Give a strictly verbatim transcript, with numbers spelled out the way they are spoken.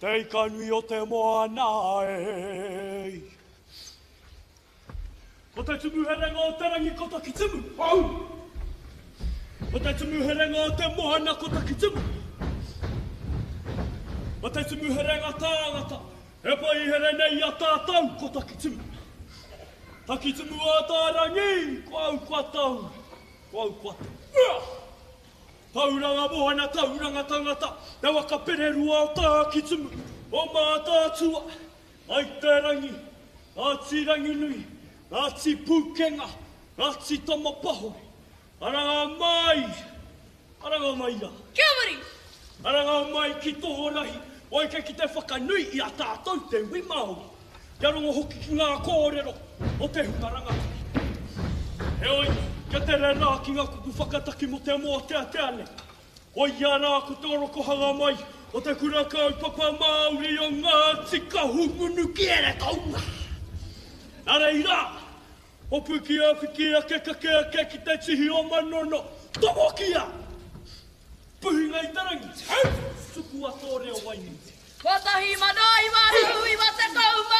Te ika nui o te moana e. Ko te tumu herenga o te rangi ko Takitimu. Au! Ko te tumu herenga o te moana ko Takitimu. Ko te tumu herenga tāngata e paihere nei i a tātou ko Takitimu. Takitimu ā-tā-rangi, ko au kua tau, ko au kua tau. Tauranga moana, tauranga tangata, te waka pererua o Tākitimu, o Mātaatua, ai te rangi, Ngāti Ranginui, Ngāti Pūkenga, Ngāti Tamapahore, aranga mai, aranga mai rā. Kia muri! Aranga mai ki Tohorahi, waika ki te whakanui i a tātou te iwi Māori, kia rongo hoki ki ngā kōrero o te hunga rangatahi. Heoi, kia tere rā ki ngā kupu whakataki mō te mōteatea nei. Koia rā ko te orokohanga mai o te Kura Kaupapa Māori o Ngāti Kahungunu ki Heretaunga. Nā reira, hopukia whiki ake kake ake ki te tihi o Manono, tomokia! Puhinga i te rangi, tukua tō reo wainui. Kotahi mano iwa rau iwa tekau mā